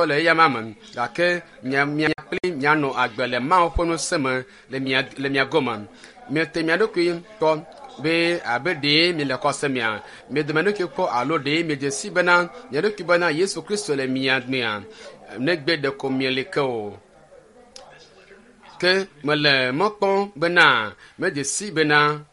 Le eya me gake mia mia kpli mianɔ agbe le Mawu ƒe ŋusẽ me le mia le mia gome. Miete mia ɖokui kpɔ be abe ɖee miele xɔse mea, miede mia ɖokui kpɔ alo ɖee miedze si bena mia ɖokui bena Yesu Kristo le mia mea negbe ɖeko mieli ke o. Ke mele mɔ kpɔm bena medze si bena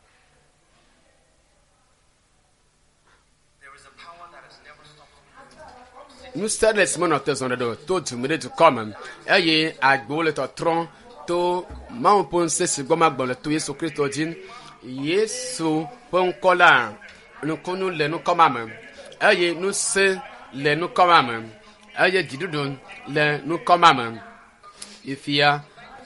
There is a power that has never stopped moving from city ŋusẽ ɖe si menɔ te zɔ ɖe ɖo to du me ɖe dukɔ me eye agbewo le tɔtrɔm to Mawu ƒe ŋusẽ si gbɔ magbɔ le to Yesu Kristo dzi. Yesu ƒe ŋkɔ la nukunu le ŋkɔ ma me eye ŋusẽ le ŋkɔ ma me eye dziɖuɖu le ŋkɔ ma me. Ifia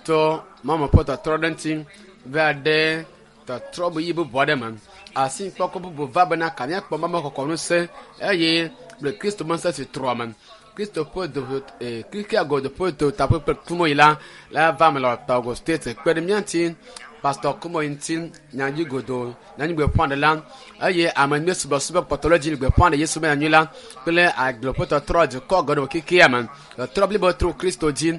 to Mawu ƒe tɔtrɔ ɖe ŋuti va ɖe tɔtrɔ yi bubu aɖe me. Asi kpɔkpɔ bubu va bena ka míakpɔ Mawu kɔkɔ ŋusẽ eye kple Kristo ƒe ŋusẽ si trɔ me. Kristo ƒe do ee Kristo godo ƒe do taƒe kple kumoyi la la va me le Togo State kpe ɖe mía ŋuti Pastor Kumoyi ŋuti nyanyui godo nyanyui gbeƒãɖela eye ame nyui subɔsubɔ kpɔtɔ ɖe dzi le gbeƒã ɖe Yesu be nyanyui la kple agble ƒe tɔtrɔ dukɔ geɖewo kekea me. Tɔtrɔ blibo tro Kristo dzi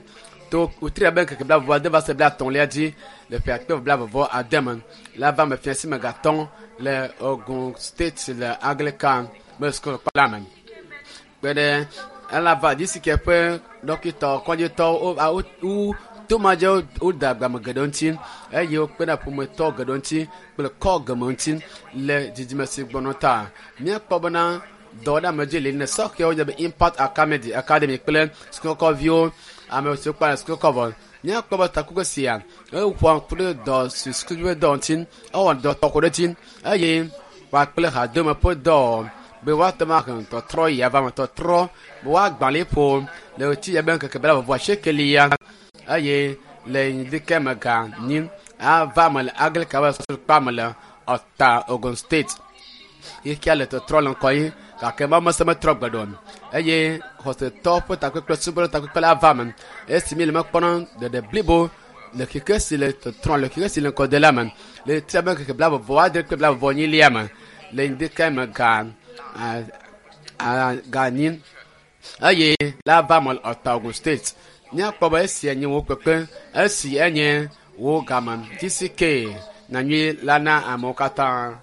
to wotri abe ŋkeke blaeve ade va se blaetɔ̃lia dzi le ƒe akpe blaeve ade me la va me fia si me gatɔ̃ le Ogun State le Anglican be sukulu kpa la me. Kpe ɖe elava GCK ƒe dɔkitɔ kɔdzitɔwo wo wo wo tomadze wode agbame geɖewo ŋuti eye wokpe ɖe ƒometɔ geɖewo ŋuti kple kɔ geme ŋuti le dzidzime si gbɔnɔ ta. Míekpɔ bena dɔ ɖe ame dzi li ne sɔhɛwo nye be Impact Academy Academy kple sukukɔviwo ame siwo kpa le sukukɔ vɔ. Míakpɔ be takpekpe sia eƒoa ŋku ɖe dɔ si sukuviwo dɔ ŋuti ewɔ dɔ tɔxɛ ɖe dzi eye kpakple hadome ƒe dɔ be woate ŋu ahe tɔtrɔ yi ava me tɔtrɔ be woagbã liƒo le ɣleti ya be ŋkeke blaeve asiekelia eye le ŋdike me ga nyi ava me le Anglican ƒe sukukpa me le Ɔta Ogun State. Xexea le tɔtrɔ le ŋkɔ yi gake Mawu ŋusẽ metrɔ gbe ɖe o eye xɔsetɔwo ƒe takpekpe subɔlawo takpekpe la va me esi mi le mekpɔna ɖeɖe blibo le xexe si le tɔtrɔm le xexe si le ŋkɔ de la me le ɣleti abe ŋkeke blaeve vɔ adre kple blaeve vɔ enyilia me le ŋdike me ga a a ga nyi eye la va me le Ɔta Ogun State. Míakpɔ be esia nye wo kpekpe esi enye wo game GCK nyanyui la na amewo katã.